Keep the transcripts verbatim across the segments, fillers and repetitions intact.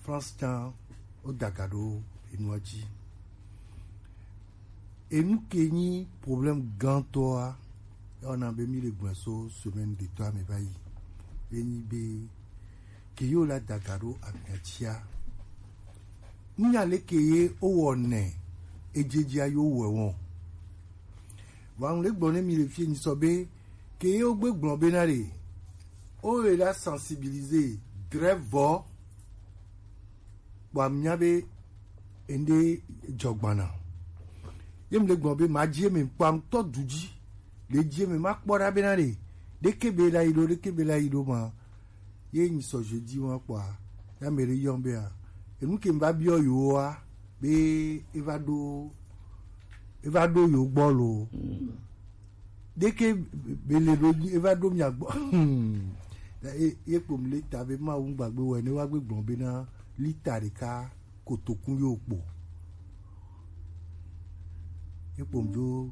France can o daga ɖo enua ji. Enu ke nyi problème gãtɔa, ya wɔna be mi le gblɔe so semaine de tɔa me va yi. Ye nyi be ke yo la daga ɖo amia jia. Nya leke ye o wɔ nɛ ejejia yo wɛ wɔn. Vɔ ŋu le gblɔ ne mi le fie nyi sɔ be ke ye o gbe gblɔ be na le o ye la sensibiliser grève vɔ. Kpɔ amia be ende jɔgbana. Ye mi le gblɔ be ma ji eme kpɔ amutɔ du ji. Le ji eme ma kpɔ ɖa be na le ɖeke be la yi ɖo, ɖeke be la yi ɖo ma. Ye nyi sɔ jeudi wa kpɔa, ya me ɖe yɔn be a, enu ke mi va biɔ yo wa be e va ɖo e va ɖo yo gbɔ lo. Ɖeke be le ɖo e va ɖo mia gbɔ. Ye kpɔ mi le ta be ma wu gbagbe wɛ ne wa gbe gblɔ be na lita ɖeka kotokun yo kpo. Ye kpɔ mi dzo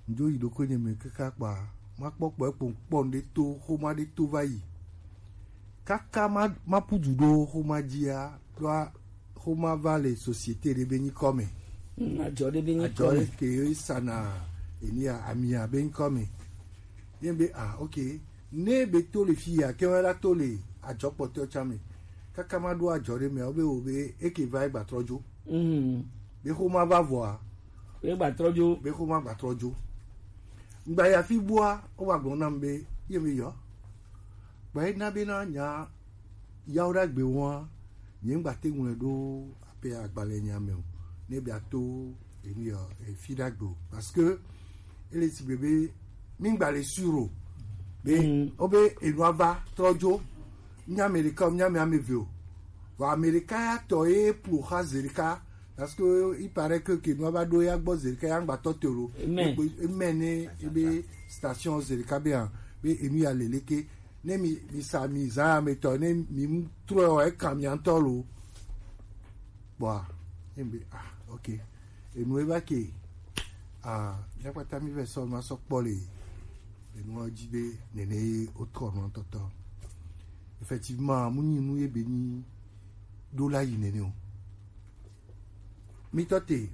dzo yi ɖokui nye me kaka kpa ma kpɔ kpɔ ekpo kpɔ ɖe to xoma ɖe to va yi. Kaka ma ma pudu ɖo xoma jia ɖoa xoma va le société ɖe be nyi kɔme. Adzɔ ɖe be nyi kɔme. Adzɔ ɖe ke sana enia amia be nyi kɔme. Ye be ah, ok. Ne be to le fi ya ke wa la to le adzɔ kpɔtɔ tsa me. Kaka ma ɖo adzɔ ɖe me o be o be eke va egba trɔ dzo. Be xoma va vɔa. Be gba trɔ dzo. Be xoma gba trɔ dzo. Ngba ya fi bua o wa gblɔ nam be ye me yɔ. Gba ye na be na nya yawo ɖagbe wɔa nye ŋgba te ŋlɔe ɖo ape agbalẽ nya me o. Ne be ato emi yɔ efi ɖagbe o parce que ele si be be mi ŋgba le sur o. Be o be enua va trɔ dzo. Nya me ɖeka o nya me ame eve o. Vɔ ame ɖeka ya tɔ ye plo xa ze ɖeka parce que il paraît que ke nua va ɖo ya gbɔ ze ɖeka ya ŋgba tɔ te lo. Eme ne ebe station ze ɖeka be hã be enu ya le leke ne mi mi sa mi zã ame tɔ ne mi mu trɔ ɔ eka mi ŋutɔ lo. Kpɔa ne mi be ah ok enu eva ke ah mi akpata mi vɛ sɔ ma sɔ kpɔ le enua dzi be nene ye wotrɔ nua tɔtɔ. Effectivement mu nyi nu ye be nyi ɖo la yi nene o. Mitɔ te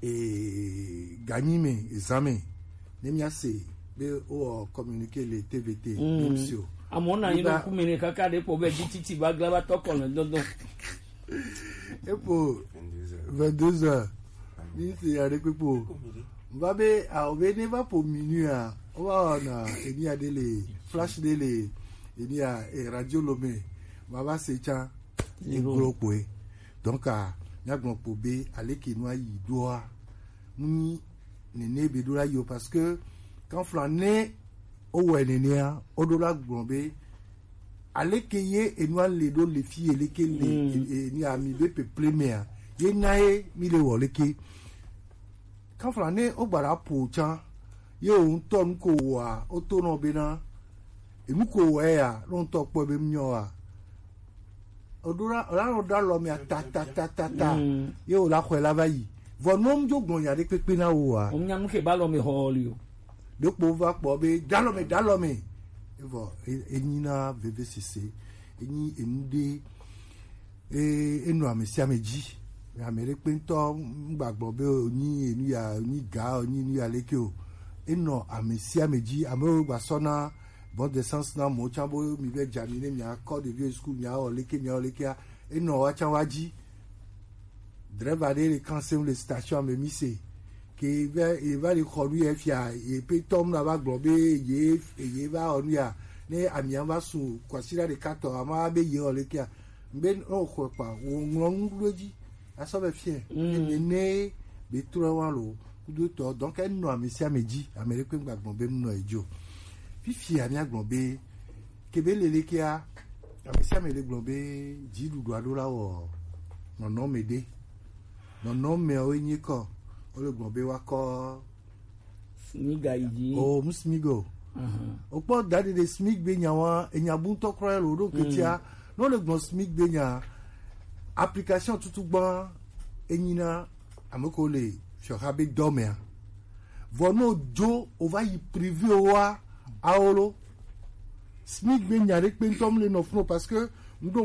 ee ganyi me ezan me ne mia se be wowɔ communiqué le T V T. Mm. Amewo na anyi ɖe ŋku me ne kaka ɖe kpɔ be G T T va gla va tɔ kɔ le dɔdɔ. Epo vingt-deux heures. Mi se ya ɖe kpekpe o. Va be awo be ne va po minuit a, o va wɔna enia ɖe le flash ɖe le enia e radio lo me. Ma va se tsa. Egblɔ kpoe. Donc a míagblɔ kpo be aleke nua yi ɖoa, mu nyi nene be ɖo la yi o parce que kanfla ne wowɔe nenea, woɖo la gblɔ be aleke ye enua le ɖo le fi ye leke le e- e- ni ami be peple mea, ye na ye mi le wɔ leke. Kanfla ne wogba ɖa ƒo tsã, ye wò ŋutɔ nu ko wɔa, woto nɔ bena enu ko wɔe ya, ne wò ŋutɔ kpɔe be mu nyɔ wa, oɖo la la nɔ ɖo alɔ mea ta ta ta ta ta. Mm. Ye wò la xɔe la va yi. Vɔ nɔ mu dzo gblɔ nya ɖe kpekpe na wo wa. Wò nya nu ke ba alɔ me xɔ li o. Ɖekpo va kpɔ be ɖo alɔ me, ɖo alɔ me. Evɔ e- enyi na vevesese, enyi enu ɖe e- enɔ ame sia ame dzi. Ame ɖe kpe ŋutɔ ŋgba gblɔ be wònyi enu ya, wònyi ga, wònyi enu ya leke o. Enɔ ame sia ame dzi. Amewo gba sɔ na bon de sens na mɔ tsã bo mi vɛ dza mi ne mia kɔ ɖevi school mia wɔ leke mia wɔ lekea, enɔ wa tsã wa dzi. Drɛva ɖe le kan sem le station ame mi se ke va eva le xɔ nu yɛ fia ye pe tɔm na va gblɔ be ye ye va wɔ nu ya ne amia va su kwasira ɖeka tɔ ama be ye wɔ lekea. Be o xɔ kpa wo ŋlɔ nu ɖo dzi asɔ be fie. Mm. Ne ne be trɔ wa lo kudo tɔ donc enɔ ame sia ame dzi ame ɖe kpe gba gbɔn be nɔ edzo. Fifia mia gbɔn be ke be lele kea ame sia ame le gbɔn be dziɖuɖu aɖo la wɔ nɔnɔme ɖe. Nɔnɔmeawo nye kɔ wole gbɔn be woakɔ. Smiga yi dzi. O mu smig o. Okpɔ da ɖe ɖe smig be nya wa enya bu ŋutɔ kura lo ɖo ketia. Ne wole gbɔn smig be nya application tutu gbã enyi na ame ko le fiɔxa be dɔmea. Vɔ no dzo o va yi privé wa awo lo. Smig be nya ɖe kpe ŋutɔ mu le nɔ funu parce que